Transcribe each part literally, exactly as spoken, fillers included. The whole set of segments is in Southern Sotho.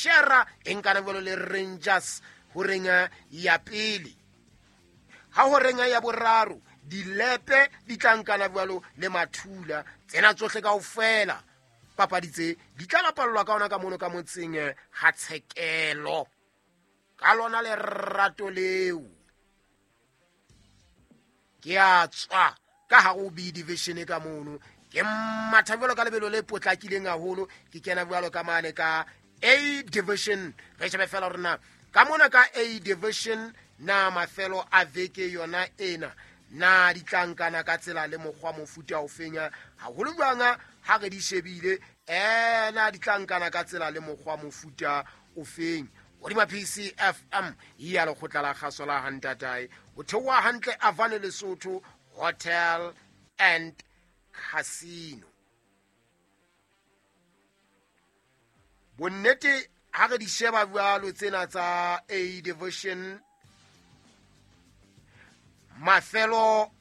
Shera e nkana jwalo le Rangers horeng ya pele. Ha horeng ya boraro Dilepe di tla nkana jwalo le Mathula. Tsena tsohle kaofela papadi tse di tla bapallwa ka ona ka mono ka motseng ha Tshekelo. Ka lona lerato leo ke a tswa ka hare ho B division ka mono, ke matha jwalo ka lebelo le potlakileng haholo, ke kena jwalo ka mane ka A division. Re shebe fela hore na ka mona ka A division na mafelo a veke yona ena na di tla nkana ka tsela le mokgwa mofuta o fenya haholo jwang ha re di shebile, eh na di tla nkana ka tsela le mokgwa mofuta o feng. Hodima P C F M ya lekgotla la kgaso la Hantatae ho theoha hantle Avane Lesotho Hotel and Casino. Bonnete ha re di sheba jwalo tsena tsa A division, mafelo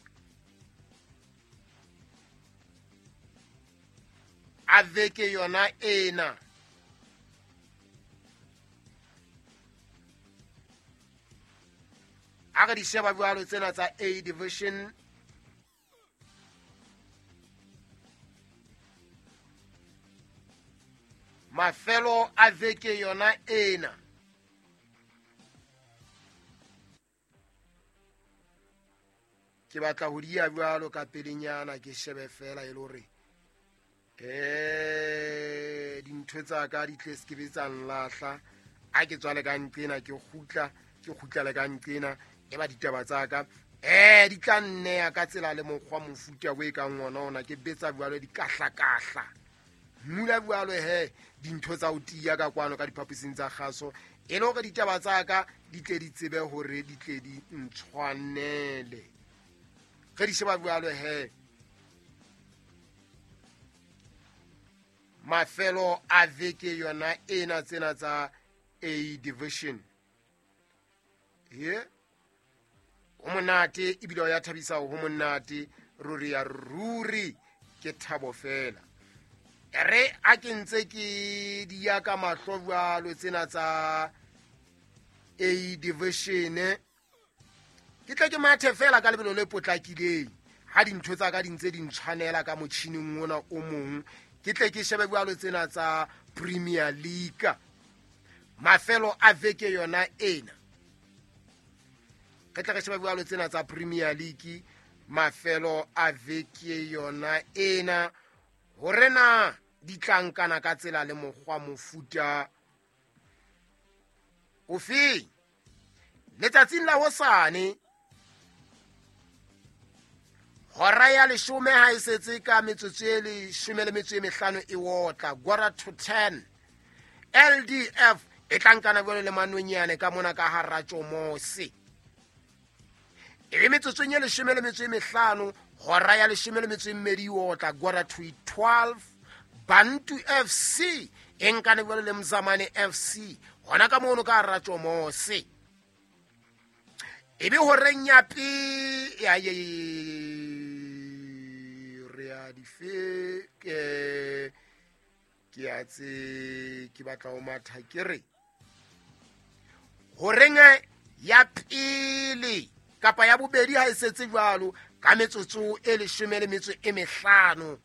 a veke yona ena a re di sheba jwalo tsena tsa A division, mafelo a veke yona ena ke batla ho di ya jwalo ka pelenyana, ke shebe fela e le hore eh dintho tsa ka di tle se ke be tsa nlahla. A ke tswale ka nqena ke kgutla, ke kgutla le ka nqena e ba ditaba tsa ka eh di tla nneya ka tsela le mokgwa mofuta o e kang ona ona ke betsa jwalo dikahlakahla mula jwalo he dintho tsa ho tiya ka kwano ka diphaposing tsa kgaso e le hore ditaba tsa ka di tle di tsebe hore di tle di ntshwanele. Re di sheba jwalo he mafelo a veke yona ena tsena tsa A division ye ho monate ebile ya thabisa ho monate ruri ya ruri ke thabo fela. Re a ke ntse ke di ya ka mahlo jwalo tsena tsa A division, ke tle ke mathe fela ka lebelo le potlakileng ha dintho tsa ka di ntse di ntshwanela ka motjhining ona o mong, ke tle ke shebe jwalo tsena tsa Premier League mafelo a veke yona ena. Re tla re sheba jwalo tsena tsa Premier League mafelo a veke yona ena hore na di tla nkana ka tsela le mokgwa mofuta ofe. Letsatsing la hosane hora ya leshome ha e setse ka metsotso e leshome le metso e mehlano e otla quarter to ten, L D F e tla nkana jwalo le Manonyane ka mona ka hara Tjomose. E be metsotsong e leshome le metso e mehlano hora ya leshome le metso e mmedi e otla quarter to twelve, Bantu F C e nkane jwalo le Mzamane F C hona ka mono ka hara Tjomose. E be horeng ya pe ya ye re a di fe ke ke a tse ke batla ho matha ke re horeng ya pele kapa ya bobedi ha e setse jwalo ka metsotso e leshome le metso e mehlano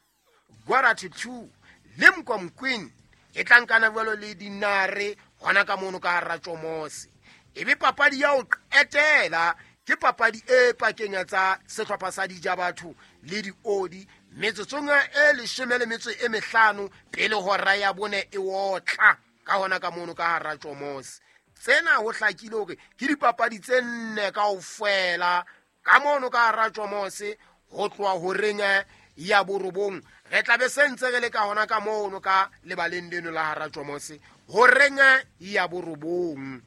quarter to two, Limkom Queen e tla nkana jwalo le Dinare hona ka mono ka hara Tjomose. E be papadi ya ho qetela ke papadi e pakeng tsa sehlopha sa Dijabatho le Diodi metsotsong e leshome le metso e mehlano pele hora ya bone e otla ka hona ka mono ka hara Tjomose. Tsena ho hlakile hore ke dipapadi tse nne kaofela ka mono ka hara Tjomose ho tloha horeng ya borobong. Re tla be se ntse re le ka hona ka mono ka lebaleng leno la hara Tjomose horeng ya borobong.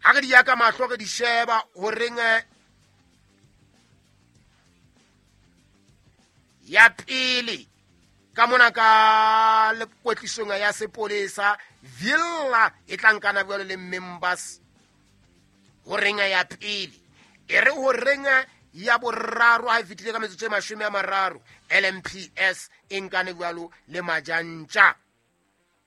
Ha re di ya ka mahlo re di sheba horeng ya pele ka mona ka lekwetlisong ya sepolesa Villa e tla nkana jwalo le Members horeng ya pele. E re horeng ya boraro ha e fetile ka metsotso e mashome a mararo L M P S e nkane jwalo le Majantja.